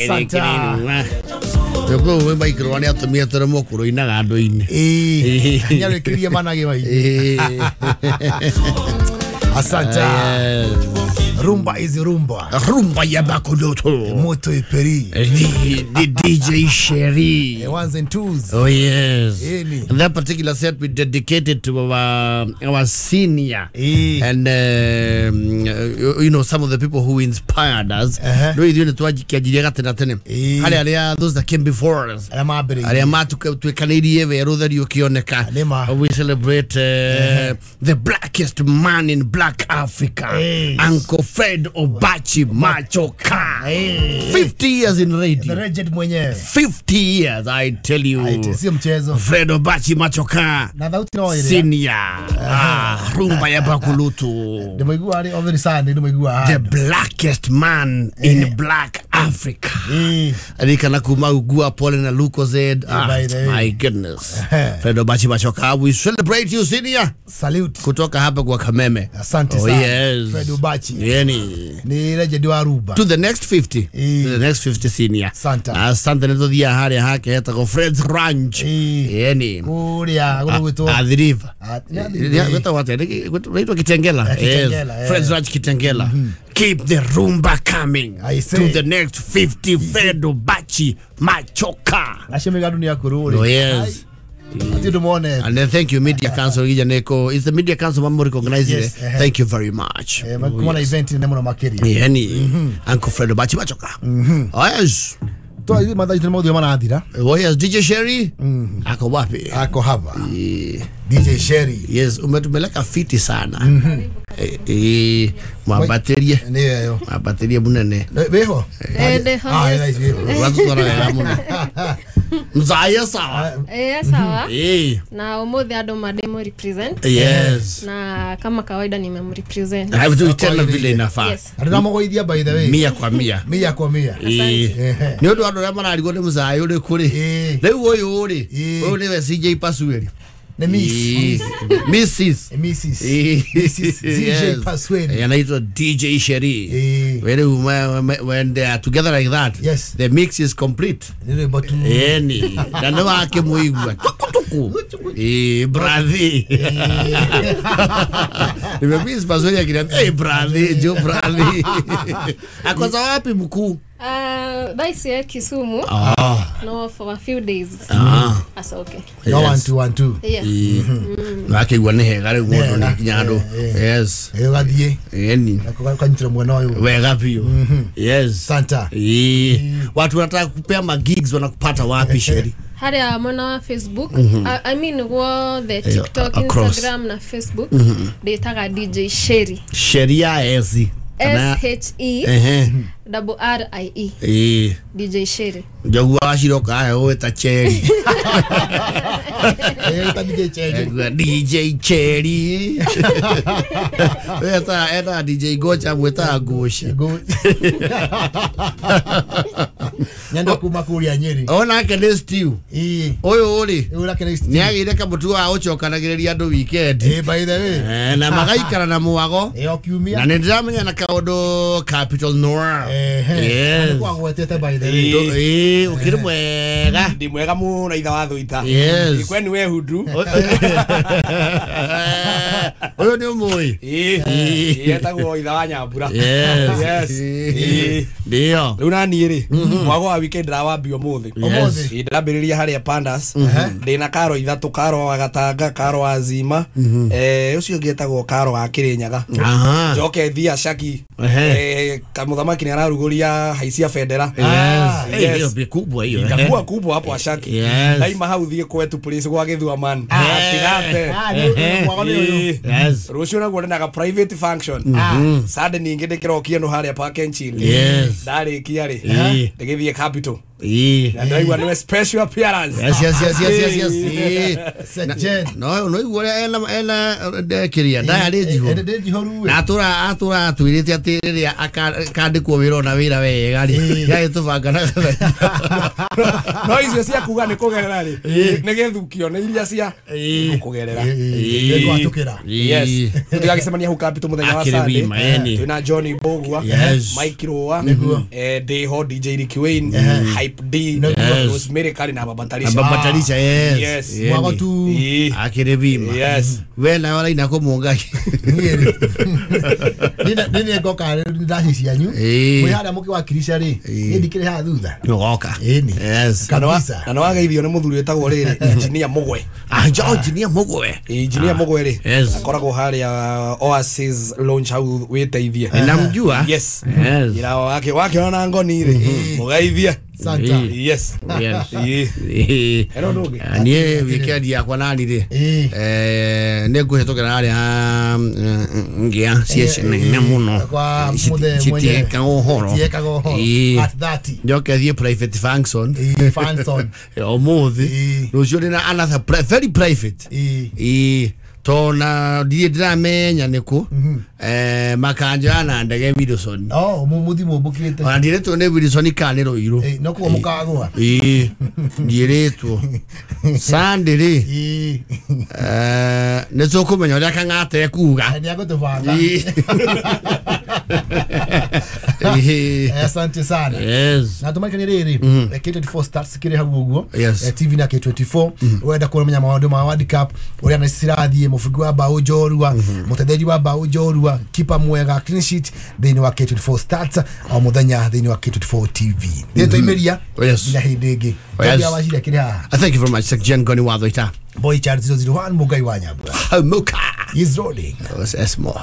Asante. Nĩguo we maikirwo nĩ atumia tũrĩ mũkũrũ-inaga andũ-inĩ. Eh, nĩarĩkĩrie manage mai. Asante. Rumba is rumba. Rumba ya Bakuloto. Moto iperi. The DJ Sherry. Ones and twos. Oh yes. Any. And that particular set we dedicated to our senior. And you know, some of the people who inspired us. No ithuĩ nĩtwakianjirie gatene tene. Harĩ arĩa those that came before us. Arĩa mambĩrĩirie. Arĩa matuĩkanĩirie werũ ũtheri ũkĩoneka. Nĩma. We celebrate the blackest man in black Africa. Uncle Fred Obachi Machoka. 50 years in radio. The legend mwenyewe. 50 years, I tell you. Sio mchezo. Fred Obachi Machoka. Na thauti no ĩrĩa. Senior. Rumba ya Bakulutu. Ndĩmũigua arĩ every Sunday ndĩmũigua. The blackest man in black Africa. Arikana kuma ugua pole na Lucozade. By the way. My goodness. Fred Obachi Machoka, we celebrate you senior. Salute. Kutoka hapa kwa Kameme. Asante Oh, sana. yes. Fred Obachi. Yani. Ni legend wa rumba. To the next 50. To the next 50 senior. Asante. Asante nĩtũthiaga harĩa hake hetagwo Fred's Ranch. Yani. Kũrĩa gũgwĩtwo Athi River. Nĩ Athi River. Gwĩtagwo atĩa? Gwĩtwo Kitengela. Eh, Kitengela, Yes. eh. Fred's Ranch Kitengela. Keep the rumba coming. I say. To the next 50 Fred Obachi Machoka. Acio mĩgandu nĩ akũrũ rĩ. Oh, yes. Ati ũndũ monete. And then thank you Media Council Gijaneko. It's the Media Council mamu recognize Yes, it. eh. Thank you very much. Kuma na event nene mũno makĩria. Yani Uncle Fred Obachi Machoka. Oh, yes. Twa mathaa itũ nĩ maũthĩ marathira. Oh yes, DJ Sherry. Ako wapi? Ako hapa. DJ Sherry. Yes, umetumeleka fiti sana. Mwambatĩrie. Nĩ ĩyo. Mwambatĩrie munene. Wĩho? Ndĩho, Ah, yes. yes, wĩho. Watutwara wega mũno. Mzaya sawa. Sawa. Na ũmũthĩ andũ mandĩmũ represent. Yes. Na kama kawaida nimemrepresent. Have to tena vile inafaa. Yes. Na ndĩramũgũithia by the way. Mia kwa mia. Mia kwa mia. Nĩ ũndũ andũ arĩa mararigwo nĩ mũzaya ũrĩkũ rĩ. Rĩu ũyũ rĩ, ũyũ nĩwe CJ Pasueri. Ni Miss. Mrs. Mrs. Mrs. CJ Pasweri. Anaitwa DJ Sherry. When they are together like that, yes, the mix is complete. Yani, na nĩ wakĩmũigua tuku tuku. Brathi. Nimemiss Pasweri akiniambia, "Hey brathi, jo brathi." Akoza wapi mkuu? Thaa ici e Kisumu. No, for a few days. That's okay. No, 1 2 1 2. Yeah. Wakĩigua nĩ hega rĩu mũndũ nĩ kinya andũ. Yes. Ũgathiĩ. Yani. Ũkanyitĩra mwena ũyũ. Wega biũ. Yes. Santa. Watu wanataka kupea magigs wanakupata wapi Sherry? Harĩa mwena wa Facebook. I mean wothe TikTok, across. Instagram na Facebook. Ndĩtaga DJ Sherry. Sheria ezi. S H E double R I E. DJ Sherry. Njogu waciroka ahe ũgwĩta Cherry. Ta DJ Cherry. DJ Cherry. Weta eta DJ Gocha mwĩtaga Goci. Nyenda kuma kũrĩa Nyeri. Onake nĩ stew. Ũyũ rĩ. Ũyũ Nĩ agĩire kamũtugo ga gũcokanagĩrĩria andũ weekend. By the way. Na magaikara na mwago. O kiumia. Na nĩ ndĩramenya na kaũndũ Capital Noir. Yes. Nĩkwagwetete by the way. Ũkĩrĩ mwega. Ndĩ mwega mũno itha wa thũita. Yes. Ikweni we hundu. Ũyũ nĩ ũmũĩ. Etagwo itha wa Nyambura. Yes. Yes. Ndio. Rĩu na niĩ rĩ, mwago wa weekend ndĩrawambia ũmũthĩ. Ũmũthĩ. Ndĩrambĩrĩria harĩa Pandas. Ndĩna karo ithatũ, karo wa Gatanga, karo wa Zima. Ũcio ũngĩ etagwo karo wa Kĩrĩnyaga. Njoke thia Shaki. Kamũthamaki nĩ ararugũria haicia bendera. Yes. Yes. Hiyo ni kubwa hiyo. Itakuwa kubwa hapo Ashaki. Yes. Daima hau thiĩ kwetu place gwa Gĩthua man. Atigate. Yes. Rũciũ naguo ndĩnaga private function. Sunday ningĩ ndĩkĩrokia no harĩa Park and Chill. Yes. Ndarĩkia rĩ. Ndĩgĩthiĩ Capital. Na ndaigua nĩwe special appearance. Yes yes yes yes yes yes. Sejen. No igua ena ndekiria ndayarĩ njihũru. Na atura atwĩrĩte atĩ rĩrĩa akandĩkwo wĩra ona wĩra wega rĩ yagĩtũbanga na no icio cia kuga nĩ kũgerera rĩ nĩ gĩthukio nĩ iria cia kũgerera nĩgwatũkĩra. Yes, tũgagĩcemania hau Capital mũthenya wa Sunday twĩna Johnny Mbugua, Mike Rũa, Deho, DJ Ricky Wayne, Hype D, Rosemary Kari na Baba Talisha. Baba Talisha, yes. Mwago tu akĩrĩ bima. Yes. We nawe ũraina kũ Mũngai? Niĩ ngoka ndaci cianyu mwĩ harĩa mũkĩwakirisha rĩ niĩ ndikĩrĩ haha thutha. Nĩũgoka. Yes. Kabisa. Na nĩwageithio nĩ mũthuri wĩtagwo rĩrĩ Engineer Mũgwe. Engineer Mũgwe. Engineer Mũgwe rĩ akoragwo harĩa Oasis Lounge hau wĩteithie. Namjua. Yes. Ira wake wakiona ngoni rĩ mũgeithie. Santa. Yes. Yes. Ero ndugi. Niĩ weekend yakwa nani rĩ nĩ ngũhĩtũkĩra harĩa ngĩa ciĩ nene mũno citiekaga ũhoro. At 30. Njoke thiĩ private function. Function. Ũmũthĩ. Rũciũ ndĩna another very private. Tona ndirĩ ndĩramenya nĩkũ makanjoya na ndege Wilson. Oh, mũthi mũmbũkĩte. Ona ndirĩtwo nĩ Wilson kana nĩ Rũirũ. No kuo mũkagũa. Ndiĩrĩtwo. Sunday rĩ nĩ tũkũmenya ũrĩa Kang'ata ekuga. Nĩ agũtũbanga. Asante sana. Yes. Na tumaikanie rĩrĩ K24 Stars kĩrĩ hau ũguo TV na K24 wenda kũmenya maũndũ ma World Cup ũrĩa na cirathiĩ mũbungi wa bao njorua mũtetheria wa bao njorua kipa mwega clean sheet thĩinĩ wa K24 Stars o mũthenya thĩinĩ wa K24 TV. Nĩ tũimĩria nginya hĩndĩ ĩngĩ. Ngia wa cira kĩrĩ haha. Thank you very much Jen Goni Wathoita. Boy Charles 001 Mugai wa Nyambura. Muka. Is rolling. S more.